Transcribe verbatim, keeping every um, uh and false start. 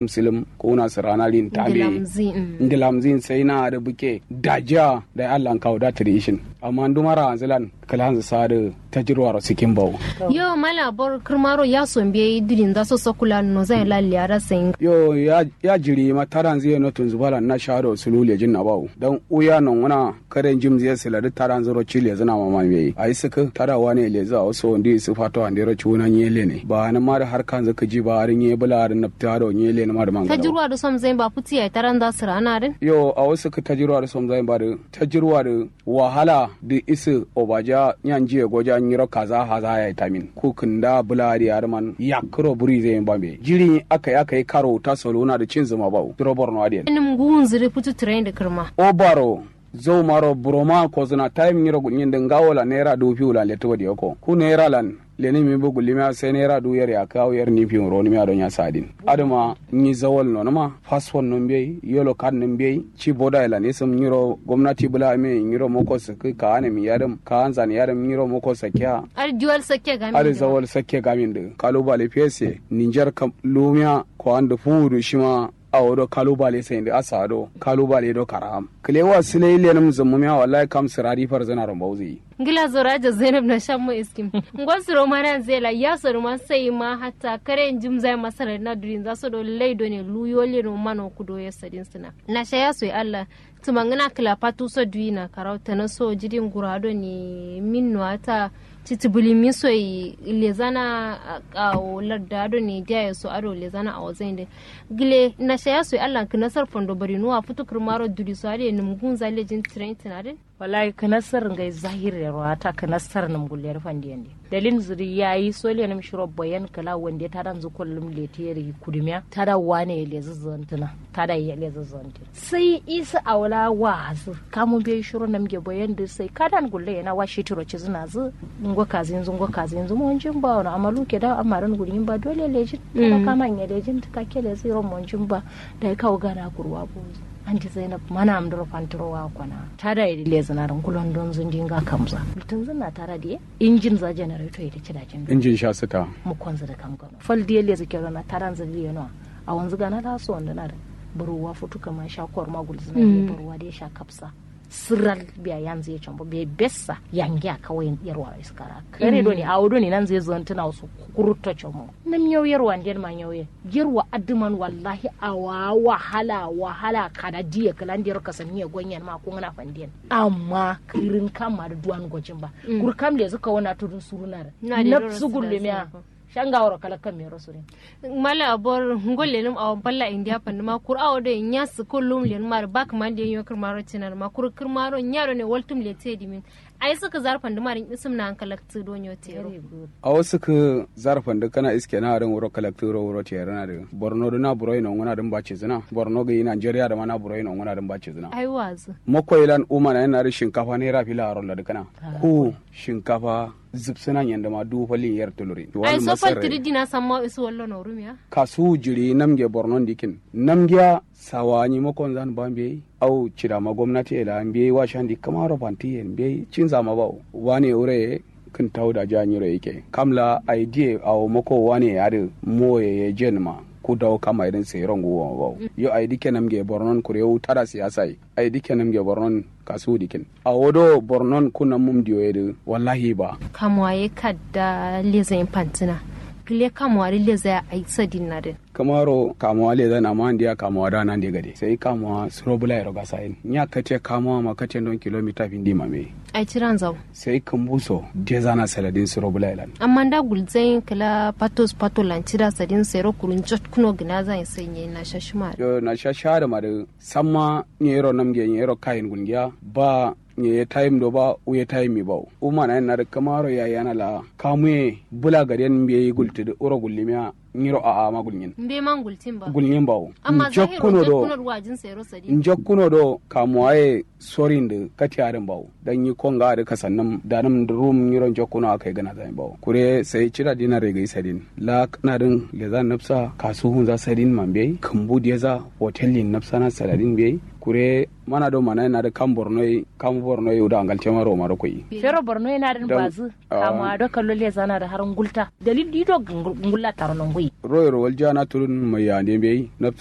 Musulum kuna sǝrana lin tambe. Ngilamzin sai na adǝ buke dajiya da allan kawo da tradition amma nduma ra'anzǝ lan kǝlanzǝ sa adǝ tajirwaro sikin bawo. Yo mala bor kǝrmaro ya sombe dulinza so sakula no zai lalle ara sai. Yo ya jiri ma taranzǝ ye no tunzǝ balan na shado sulu lejin na bawo dan uya nonguna kare njimzǝ ye sǝladǝ taranzǝ ro ci lezǝna mama mbeyi ayi sǝkǝ tada wane lezǝ awo so ndi sǝ fato andero cuwuna nye lene ba nǝma dǝ har kanzǝ kǝji ba adǝ nye bǝla adǝ nabtǝ ado nye lene ma dǝ mangala tajirwa dǝ somzai ba futu yayi taranza sǝrana dǝn. Yo awo sǝkǝ tajirwa dǝ somzai ba dǝ tajirwa dǝ wahala dǝ isǝ obaja nya njiye goja nyiro kaza haza yayi tamin ku kǝnda bǝla adǝ adǝ man yakkǝro buri zai ba mbeyi jiri akai akai karo ta soluna dǝ cinzǝ ma bawo duro borno adǝ yen. Nǝm ngunzǝ dǝ futu tǝrain dǝ kǝrma obaro. Zaumaro buroma kozǝna tayim nyiro gulnyin dǝ ngawolan naira duwu fiwulan letǝ wadiyo ko ku nairalan lenǝ mimbu gullimiya sai naira duwu yer yakkǝ awo yer ni fiwun ronǝmiya do nya sadin adǝma nyi zawal nonǝma fasfon nǝm beyi yolo kad nǝm beyi ci bodayilan isǝm nyiro gomnati bǝla ame nyiro moko sǝkkǝ kaane mi yadǝm kaanzan yadǝm nyiro moko sakkiya. Adǝ diwal sakke gamin adǝ zawal sakke gamin dǝ kalubale fese ninjar kam lumiya kowan dǝ fuwudu shima. Awo do kalubale sai ndu asa do kalubale do karaham kǝlewa sǝlai lenǝm zǝmmumiya wallahi kam sǝrari farzǝna ro mbauzi. Ngla zoro aja zainab na shammo iskim. Ngo suro mana zela ya soro ma sai ma hatta kare njim zai masara na durin za so do lai do ne luyo leno mano kudo ya sadin suna na shaya so allah. Tǝmangǝna kǝla fatu so duwina karau tana so jidin gura do ne min no ata citibili miso ye lezana. Awo larda do ne diya ye so ado lezana awo zain de. Gǝle nasha ya so ye allah kǝnasar fondo bari nuwa futu kǝrmaro duri so ade nǝm ngunza lejin tǝrain tǝna dǝn. Wallahi kǝnasar ngai zahir yero ata kǝnasar nǝm gulle dǝ fandi yende. Dalil nzǝ dǝ yayi sole nǝm shiro boyen kǝla wande tada nzǝ kullum lete yeri kudumiya tada wane ye lezǝ zǝntǝna. Tada ye lezǝ zǝntǝna sai isǝ awo la wazǝ kamu mbeyi shiro namge boyen dǝ sai kadan gulle yena wa shitiro cizǝna zǝ. Ngo kazinzǝ ngo kazinzǝ monjin ba wono amma luke da amma dǝn gulnyin ba dole lejin. Kada kama nye lejin tǝ kakke lezǝ yiro monjin ba. Dayi kawu gana kurwa bozǝ. Anti zainab mana amduro fanturo wa kona tada ye dǝ lezǝna dǝ ngulondonzǝ ndi nga kamza. Lutǝnzǝn na tada diye injin za generator ye dǝ cidajin. Injin sha sǝta. Mukonzǝ dǝ kam gano fal diye lezǝ kero na tadanzǝ dǝ yeno. Awonzǝ gana la so wandǝna dǝ. Buruwa futu kǝma sha korma gulzǝna diye buruwa diye sha kapsa. Sǝral biya yanzǝ ye combo biya bessa yangiya kawai yerwa iskara kare done awo done nanzǝ ye zantǝna wuso. Kurutto combo nǝm nyau yerwa nden ma nyau ye yerwa adǝman wallahi awa wahala wahala kada diye kǝlan dero kasanni ye gonyen ma kungǝna fanden. Amma kǝrin kam ma dǝ duwan gojin ba. Kuru kam lezǝ kawo na tudun suruna dǝ nafsu gullumiya. Sha ngaworo kalakkan mero surin. Mala abor ngol lenum awo balla indiya fanduma kur awo do nya sǝ kullum lenum ar bak man de nyo kǝrmaro cinar ma kur kǝrmaro nya do ne waltum lete dimin. Ai sǝ kǝzar fanduma rin isǝm na ankalaktǝ do nyo tero. Awo sǝ kǝzar fandu kana iske na adǝn wuro kalaktǝ ro wuro tero na dǝ borno dǝ na buroi nonguna dǝn ba cizǝna borno gǝyi nigeria dǝ ma na buroi nonguna dǝn ba cizǝna. Ai wazǝ. Mako ilan umana yana dǝ shinkafa naira fila aro ladǝ kana. Ku shinkafa zǝbsǝna nyandǝma duwu fallin yer tulurin. Ai so fal tǝdǝ dina samma isu wallo norumiya. Kasuwu jiri namge bornon dikin namgiya sawa nyima konzan ba mbeyi. Au cidama gomnati ye la mbeyi wa shandi kǝmaro fanti ye mbeyi cinzama bawo. Wane wuro ye kǝn tawuda ja nyiro yike kam la ai diye awo mako wane ye adǝ moye ye jenma. Ku dawo kam aidǝn seyiro nguwoma bawo. Yo ai dikke namge bornon kure wu tada siyasa ye. Ai dikke namge bornon kasuwu dikin. Awo do bornon ku nammum diyo ye dǝ wallahi ba. Kamuwa ye kadda leza yin fantǝna. Gǝle kamuwa dǝ leza ya ai sadin na dǝn. Kǝmaro kamuwa leza na ma ndiya kamuwa da nande gade sai kamuwa suro bula yero gasa yin nya kate kamuwa ma kate ndon kilomita findi ma mbeyi. Ai ciran zawo. Sai kǝmbu so deza na saladin suro bula yelan. Amma nda gulzayin kǝla fatos fatolan cida sadin sero kuru njot kuno gǝna zayin sai nyeyi na shashima. Yo na shashima dǝ ma dǝ. Samma nyero namge nyero kayin gulngiya ba. Nyeye tayim do ba wuye tayim mi bawo umana yen nadǝ kǝmaro yayi yana la kamuye bula gaden mbeyi gultǝdǝ wuro gullimiya. Nyiro a'a ma gulnyin. Mbeyi ma gultin ba gulnyin bawo. Amma zahiro njokkuno do wajin sero sadi njokkuno do kamuwa ye sorin dǝ kati adǝn bawo. Dan nyi konga adǝ kasannǝm danǝm dǝ rum nyiro njokkuno akai gǝna zayin bawo kure sai cida dina regai sadin la kǝnadǝn leza nabsa kasuhunza sadin ma mbeyi kǝmbu deza hotel yin nabsana saladin mbeyi. Kure mana do mana yana da kam borno yi kam borno yi da angal tema roma do koyi. Fero borno yana da bazı. Kama do kallo le zana da har ngulta dalil di do ngulla taro no nguyi. Royar waljiya na turun mai yande bai.